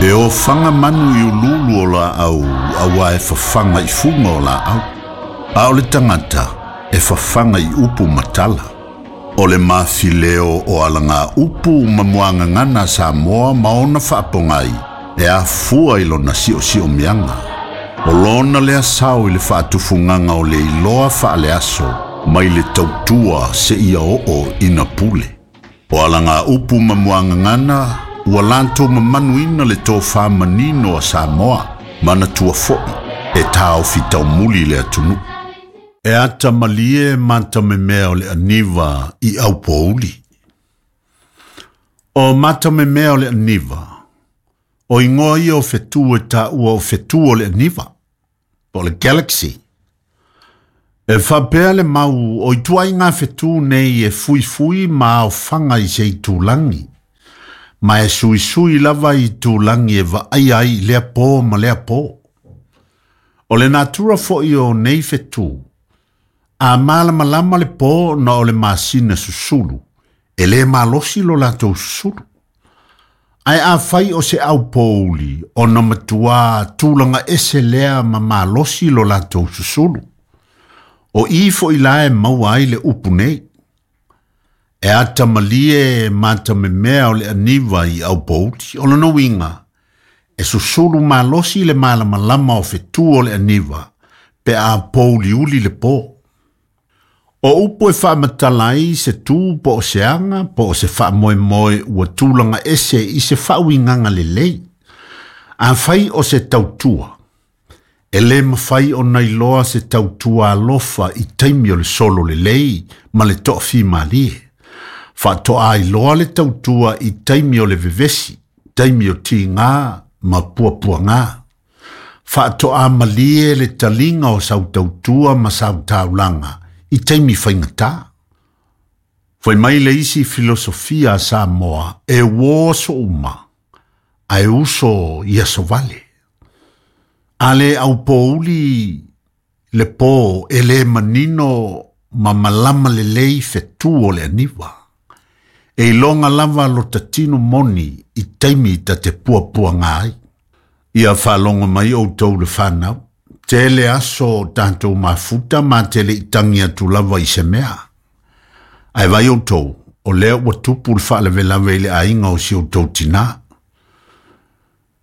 E ofaga manu i uluulu o laau auā e fafaga i fuga o laau, a o le tagata e fafaga i upu ma tala. O le mafileo o alaga upu ma muagagana a Samoa ma ona faapogai e afua i lona siosiomiaga. O lona lea sao i le faatufugaga o le iloa faaleaso mai le tautua seia oo ina pule. O alaga upu ma muagagana ua latou mamanuina le tofa manino a Samoa, manatua foi e taofi taumuli le atunuu. E ata malie matamemea o le aniva i aupouli. O matamemea o le aniva, o igoa ia o fetu e taua o fetu o le aniva, po o le galaxy. E faapea le mau o ituaiga fetu nei e fuifui ma aofaga i se itulagi, ma e suisui lava i itulagi e vaaia ai i lea pō ma lea pō. O le natura foi o nei fetu, a malamalama le pō ona o le masina susulu, e lē malosi lo latou susulu. Ae afai o se aupouli, ona matuā tulaga ese lea ma malosi lo latou susulu. O i foi la e maua ai le upu nei. E ata malie matamemea o le aniva i aupouli. O lona uiga, e susulu malosi le malamalama o fetu o le aniva pe a pouliuli le pō. O upu e faamatala ai se tu po o se aga po o se faamoemoe ua tulaga ese i se faauigaga lelei. Afai o se tautua, e lē mafai ona iloa se tautua alofa i taimi o le solo lelei ma le toafimalie. Faatoa iloa le tautua i taimi o le vevesi, taimi o tigā ma puapuagā. Faatoa malie le taliga o sau tautua ma sau taulaga i taimi faigata. Fai mai le isi filosofia a Samoa, e uō aso uma, ae uso i aso vale. A le aupouli le pō e lē manino ma malama lelei fetu o le aniva. E iloga lava lota tino moni i taimi ta te puapuaga ai. Ia faalogo mai outou le fanau, tele aso o tatou mafuta ma te le'i tagi atu lava i se mea. Ae vaai outou, o lea ua tupu le faalavelave i le aiga o si outou tinā.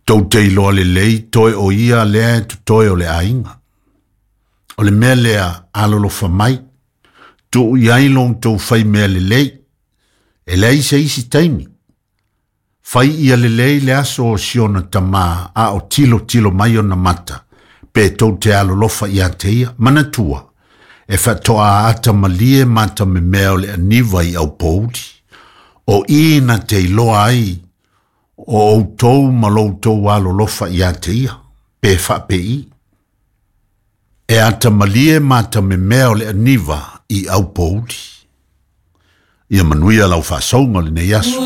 Tou te iloa lelei toe o ia lea e totoe o le aiga. O le mea lea, alolofa mai, tuu i ai lo outou fai mea lelei, e leai se isi taimi. Fai ia lelei le aso o si ona tamā a o tilotilo mai ona mata, pe tou te alolofa ia te ia. Manatua, e faatoa ata malie matamemea o le aniva i aupouli. O i na te iloa ai o outou ma lo outou alolofa ia te ia, pe faapei. E ata malie matamemea o le aniva i aupouli. Ia manuia lau faasauga o lenei aso.